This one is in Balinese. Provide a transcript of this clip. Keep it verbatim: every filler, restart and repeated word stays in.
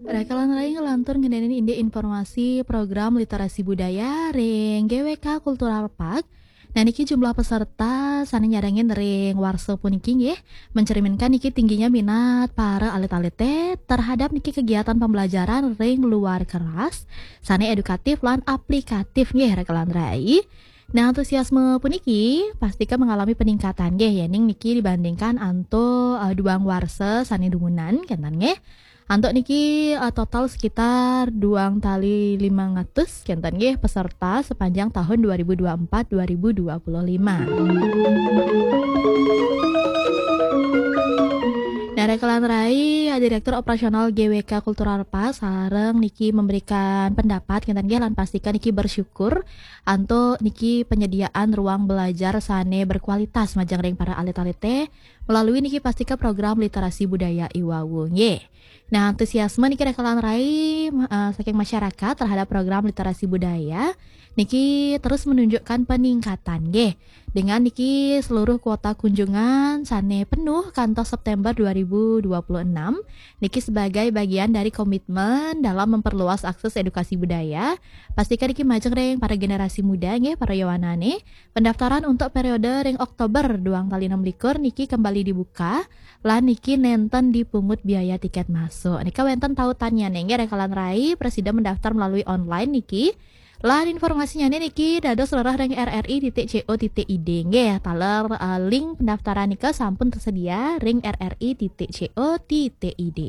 Rekan rai, ngelantur ngeninin indik informasi program literasi budaya ring G W K Cultural Park. Nah, niki jumlah peserta sane nyarengin ring warsa puniki nggih mencerminkan niki tingginya minat para alit-alite terhadap niki kegiatan pembelajaran ring luar kelas sane edukatif lan aplikatif nggih, rekan rai. Nah, antusiasme puniki pastika mengalami peningkatan nggih, yening niki dibandingkan antuk, eh, duang warsa sane dumunan, kenten nggih. Antuk niki, eh, total sekitar duang tali limang atus, kenten nggih, peserta sepanjang tahun dua ribu dua puluh empat dua ribu dua puluh lima. Nah, rekan rai, eh, Direktur Operasional G W K Cultural Park sareng niki memberikan pendapat, kenten nggih, lan pastika niki bersyukur antuk niki penyediaan ruang belajar sane berkualitas majeng ring para alit-alite melalui niki pastika program literasi budaya iwau nggih. Nah, antusiasme niki, rekan rai, ma-, eh, saking masyarakat terhadap program literasi budaya niki terus menunjukkan peningkatan nggih. Dengan niki seluruh kuota kunjungan sane penuh kantos September dua ribu dua puluh enam niki sebagai bagian dari komitmen dalam memperluas akses edukasi budaya, pastika niki majeng ring para generasi muda nggih, para yowanane. Pendaftaran untuk periode ring Oktober duang tali enam likur niki kembali dibuka, lan niki nenten dipungut biaya tiket masuk. Nika wenten tautannyane nggih, rekan rai, prasida mendaftar melalui online niki. Lan informasinyane niki dados rereh ring R R I titik C O titik I D nggih, taler, eh, link pendaftaran nika sampun tersedia ring R R I titik C O titik I D.